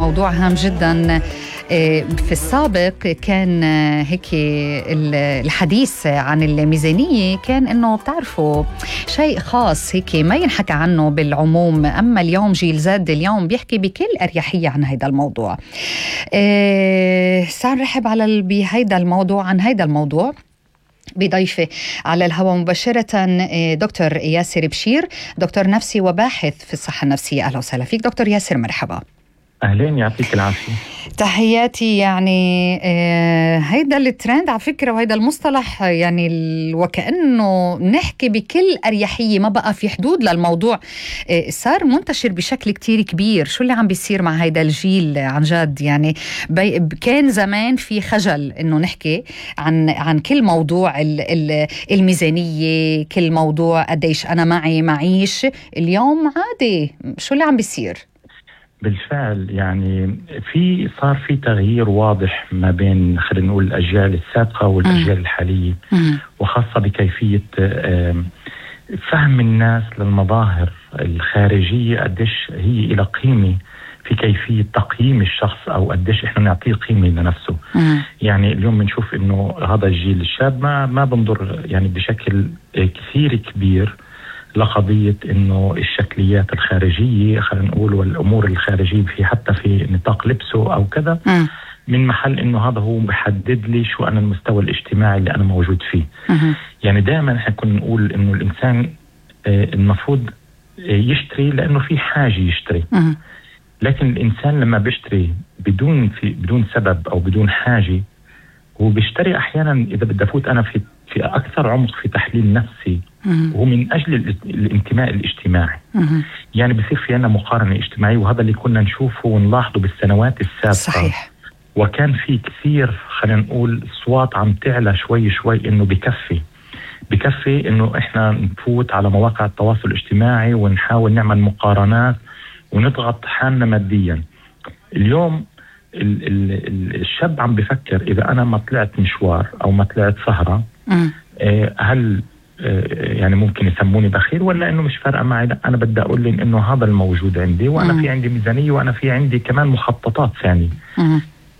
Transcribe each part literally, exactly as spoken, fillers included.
موضوع هام جدا. في السابق كان هيك الحديث عن الميزانية كان إنه بتعرفوا شيء خاص هيك ما ينحكى عنه بالعموم، أما اليوم جيل زد اليوم بيحكي بكل أريحية عن هيدا الموضوع. سنرحب على بهيدا الموضوع عن هيدا الموضوع بضيفة على الهواء مباشرة دكتور ياسر بشير، دكتور نفسي وباحث في الصحة النفسية. أهلا وسهلا فيك دكتور ياسر، مرحبا. أهلين، يعطيك العافية. تحياتي. يعني آه هيدا الترند على فكرة وهيدا المصطلح يعني وكأنه نحكي بكل أريحية، ما بقى في حدود للموضوع. آه صار منتشر بشكل كتير كبير. شو اللي عم بيصير مع هيدا الجيل عن جد؟ يعني كان زمان في خجل إنه نحكي عن عن كل موضوع ال ال الميزانية، كل موضوع قديش أنا معي معيش. اليوم عادي. شو اللي عم بيصير؟ بالفعل يعني في صار في تغيير واضح ما بين خلينا نقول الأجيال السابقة والأجيال الحالية، وخاصة بكيفية فهم الناس للمظاهر الخارجية، قديش هي إلى قيمة في كيفية تقييم الشخص أو قديش إحنا نعطيه قيمة لنفسه. يعني اليوم بنشوف إنه هذا الجيل الشاب ما ما بنظر يعني بشكل كثير كبير لقضية إنه الشكليات الخارجية خلينا نقول والأمور الخارجية في حتى في نطاق لبسه أو كذا، م. من محل إنه هذا هو بحدد لي شو أنا المستوى الاجتماعي اللي أنا موجود فيه. م. يعني دائما إحنا كنا نقول إنه الإنسان المفروض يشتري لأنه في حاجة يشتري، م. لكن الإنسان لما بيشتري بدون في بدون سبب أو بدون حاجة، هو بيشتري أحيانا إذا بدي أفوت أنا في في أكثر عمق في تحليل نفسي، وهو من أجل الانتماء الاجتماعي. مم. يعني بصير في عنا مقارنة اجتماعية، وهذا اللي كنا نشوفه ونلاحظه بالسنوات السابقة. صحيح. وكان في كثير خلينا نقول أصوات عم تعلى شوي شوي إنه بكفي بكفي إنه إحنا نفوت على مواقع التواصل الاجتماعي ونحاول نعمل مقارنات ونضغط حالنا ماديا. اليوم ال ال الشاب عم بفكر إذا أنا ما طلعت مشوار أو ما طلعت سهرة، آه هل آه يعني ممكن يسموني بخيل ولا إنه مش فارقة معي؟ لا، أنا بدي أقول لهم إنه هذا الموجود عندي، وأنا مم. في عندي ميزانية، وأنا في عندي كمان مخططات ثانية.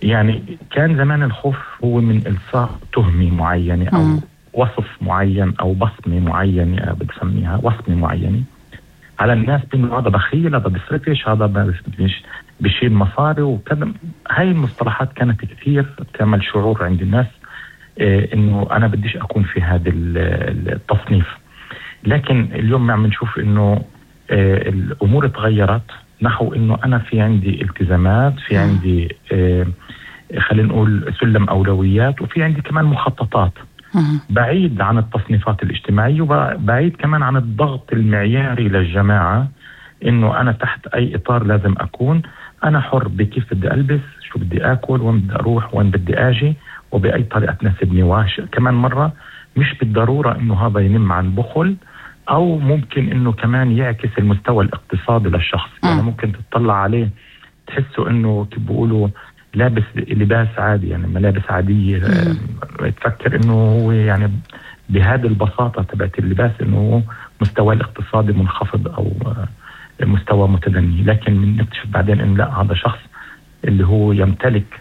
يعني كان زمان الخوف هو من إلصاق تهمة معينة أو مم. وصف معين أو بصمة معينة، بتسميها وصمة معينة على الناس بأنه هذا بخيل، هذا بسرقش، هذا مش بشيل مصاري وكذا. هاي المصطلحات كانت كثير تعمل شعور عند الناس إيه انه انا بديش اكون في هذا التصنيف. لكن اليوم عم نشوف انه إيه الامور تغيرت نحو انه انا في عندي التزامات، في عندي إيه خلينا نقول سلم اولويات، وفي عندي كمان مخططات بعيد عن التصنيفات الاجتماعية، وبعيد كمان عن الضغط المعياري للجماعة انه انا تحت اي اطار لازم اكون. انا حر بكيف بدي البس، شو بدي اكل، وين بدي اروح، وين بدي اجي، وباي طريقه تناسبني. واش كمان مره مش بالضروره انه هذا ينم عن بخل، او ممكن انه كمان يعكس المستوى الاقتصادي للشخص. م. يعني ممكن تطلع عليه تحسه انه كيف بيقولوا لابس لباس عادي، يعني ملابس عاديه، تفكر انه هو يعني بهذه البساطه تبعت اللباس انه مستوى الاقتصادي منخفض او مستوى متدني. لكن نكتشف بعدين إن لا، هذا شخص اللي هو يمتلك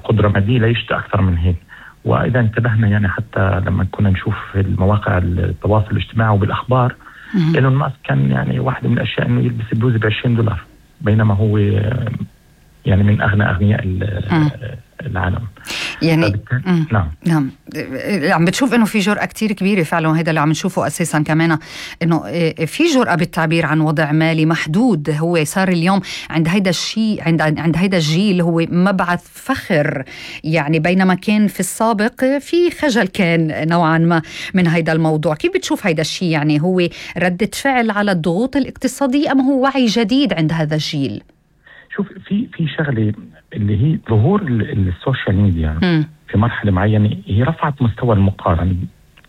قدرة مادية لا يشتى أكثر من هيك. وإذا انتبهنا يعني حتى لما كنا نشوف في المواقع التواصل الاجتماعي وبالأخبار، إيلون ماسك كان يعني واحدة من الأشياء إنه يلبس بلوزة بعشرين دولار، بينما هو يعني من أغنى أغنياء العالم. يعني نعم نعم عم بتشوف انه في جرأة كتير كبيرة فعلا، وهذا اللي عم نشوفه اساسا كمان، انه في جرأة بالتعبير عن وضع مالي محدود. هو صار اليوم عند هيدا الشيء، عند عند هيدا الجيل هو مبعث فخر، يعني بينما كان في السابق في خجل كان نوعا ما من هيدا الموضوع. كيف بتشوف هيدا الشيء؟ يعني هو ردة فعل على الضغوط الاقتصادية ام هو وعي جديد عند هذا الجيل؟ شوف، في في شغله اللي هي ظهور السوشيال ميديا م. في مرحله معينه هي رفعت مستوى المقارنه.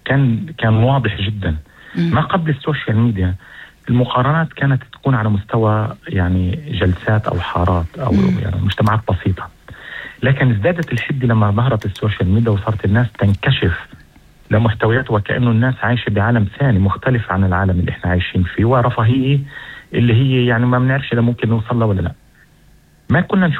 كان كان واضح جدا م. ما قبل السوشيال ميديا المقارنات كانت تكون على مستوى يعني جلسات او حارات او م. يعني مجتمعات بسيطه، لكن ازدادت الحده لما ظهرت السوشيال ميديا وصارت الناس تنكشف لمحتويات، وكأنه الناس عايشه بعالم ثاني مختلف عن العالم اللي احنا عايشين فيه، ورفاهيه اللي هي يعني ما بنعرفش اذا ممكن نوصل لها ولا لا. ما كنا نشوف